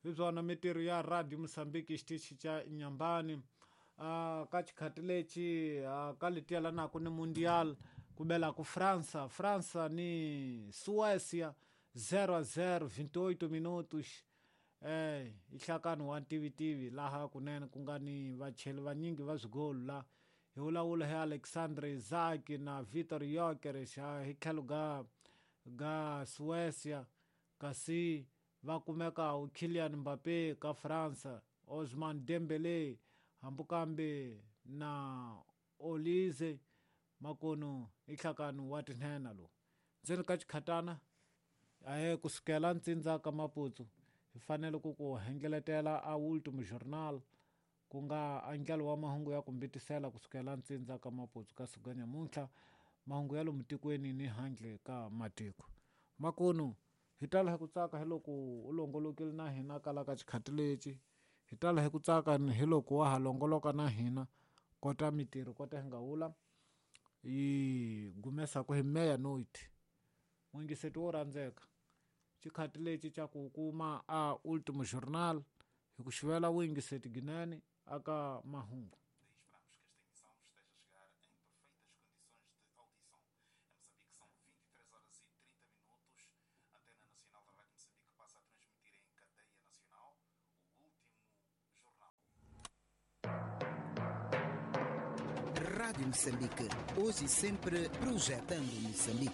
Hi byona mintirho ya Radio Mozambique xitichi xa Nyambani. Ka xikhati lexi ka letiya lanaku ni Mundial ku bela ku França, França ni Suécia 0-0 28 minutos. I nhlakano wa ntivitivi laha kunene ku nga ni vacheli vanyingi va swigolo la hi vulavula hi Alexandre Isaac na Vitor Gyökeres hi tlhelo ga ga Suécia, kasi va kumeka Kylian Mbappé ka França, Ousmane Dembélé hambi kambe na Olise makunu i nhlakano wa tinhenha lowu. Ndzeni ka xikhatana ahe kusukela ntsindza ka Maputsu hi fanele ku ku hengeletela a Ultimo Journal ku nga andlalo wa mahungu ya ku mbitisela kusukela ntsindza ka Maputsu ka siku nyamuntlha mahungu ya lomu tikweni ni handle ka matiko. Makunu hi tala hi ku tsaka hi loko u longolokile na hina kala ka xikhati lexi, hi tala hi ku tsaka hi loko wa ha longoloka na hina kota mintirho kota hi nga vula yi gumesaku hi meia-noite. N'wingiseti wo rhandzeka xikhati lexi xa ku kuma a Ultimo Journal hi ku xivela vuyingiseti ginene aka mahungu. Rádio Moçambique, hoje e sempre projetando Moçambique.